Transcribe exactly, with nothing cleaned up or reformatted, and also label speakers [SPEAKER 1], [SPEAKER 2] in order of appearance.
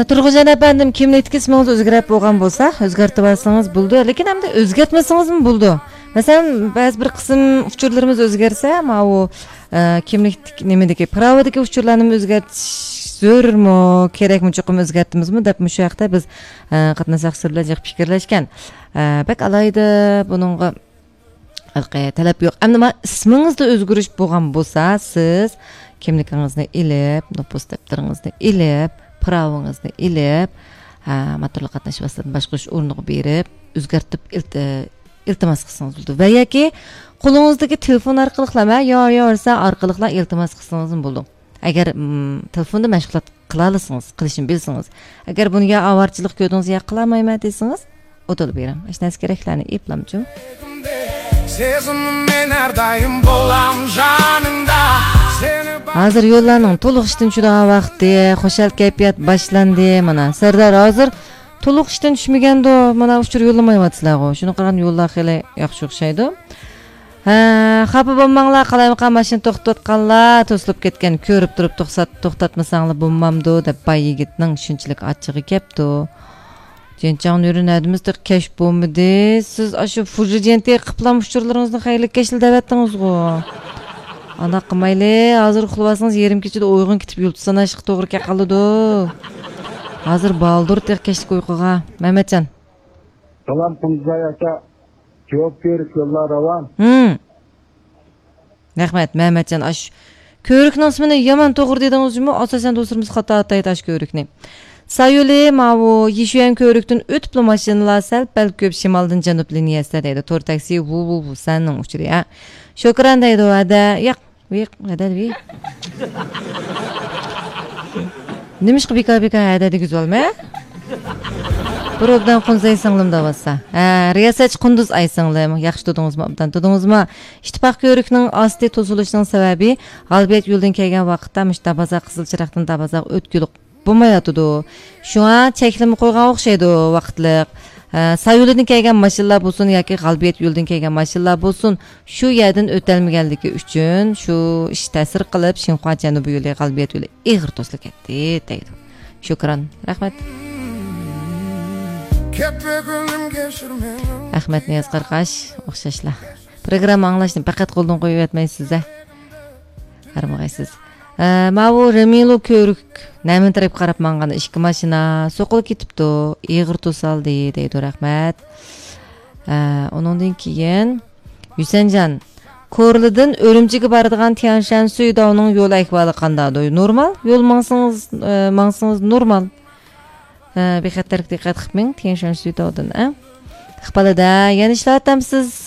[SPEAKER 1] Тургунжан апандым, кимдик исмиңиз өзгөрүп болгон болсо, өзгөртүп алсаңыз болду. Лекин анда өзгөртмөсөңүз болду. Маселен, баз бир кысым учурларыбыз өзгөрсө, могу кимдик немедеги праводеги учурларны өзгөртүш зөрүрмү, керекми, жокпу өзгөртөбүзмү деп мушу жакта биз катнашакчылар менен жак пикирлешкен. Бек алайда бунунга талап жок. Эмне исмиңизде өзгөрүш болгон болсо, сиз кимдигиңизди илеп, нупус дефтериңизди илеп, правоңузду илеп, моторлук катнаш басыларын башкарыш орнуга берип, өзгөртүп илтимас кылсаңыз болду. Ва яки колуңуздагы телефон аркылуу, я ярса аркылуу илтимас кылсаңыз болду. Агер телефонду машгулат кыла алсаңыз, кылышын билсеңиз, агер буну я аварчылык көрдүңүз, я кыламайм десеңиз, отолуп берем. Эч нерсе кереклерни эплемчү. Сезимим мен ар дайым болам жаныңда. Азыр жолларның толук иштен чыдаган вакыты, хошал кайфият башланды. Мына Сардар азыр толук иштен түшмөгөндө, мына учур жолламай атсызlar го. Шуну караган жоллар хеле жакшы окшойду. Капы болмаңлар, калаймкан машина токтотканлар, тосулуп кеткен, көрүп туруп токтотмасаңлар болмамды деп бай йигитнин шунчалык ачыгы кепти. Женчан үйрөнөдүмүз деп кеш болмуду. Сиз ашу фужиденте кыплам учурларыңызды кайрылык кешил деп аттыңыз го. Ана кымайлы, азыр уктабасаңыз ярым кечеде ойгон кетип юлтусана ашык тоогру ке калды. Азыр балдыр тек кештик уйкуга. Маматжан.
[SPEAKER 2] Салам Кунзай ака. Жооп берип жолларабам.
[SPEAKER 1] Хм. Рахмат, Маматжан. Аш көрүкнүн исмине яман тоогур дедиңизби? Асасан досурубуз ката атайт аш көрүкнү. Sayılı mavu yişüyen körüktün ötüplü maşınlar sel-pel köp şimaldın janub liniyasida deydi. Tor taksi vu vu vu sanның uçuru ya. Şokran deydi o ada. Yak, yak, ada deydi. Nemiş ki bika bika ada deydi güzel mi? Bir obdan Kunduz aysanlım da bassa. Riyasaç Kunduz aysanlım. Yaxşı tudunuz mu? Obdan tudunuz mu? İştipak körüknün asli tozuluşunun sebebi Galbiyet yoldan kelgen vaqtda mışta baza kızıl çıraqtın da baza ötkülük болмайатыды. Шуңа чеклими койгон окшойду вакытлык. Sayıldın kelgen машиналар болсун яки Галбиет yoldan kelgen машиналар болсун, şu yerden ötelmegендиги үчүн şu iş ta'sir qilib Шинхуа Жанубий yo'li Галбиет yo'li иг'ir to'slik etdi deydi. Shukran. Rahmat. Ahmet Niyaz Qarqash o'xshashlar. Programma anglashni faqat qo'ldan qo'yib yotmaysizlar. Qarmag'aysiz. Маву Ремилу көрүк намын тарап карап манган ишки машина сокулуп кетипту, ийгир тосалды дейди. Рахмат. Онундан кийин Юсенжан Корлудун Өрүмчүгө бардыган Тяншан Суйдаунун жол акыбалы кандайдыр? Нормал. Жол маңсыңыз, маңсыңыз нормал. Бехатерлик диккат кылмаң Тяншан Суйдаудун, а? Ыкпалыда янышлатамсыз.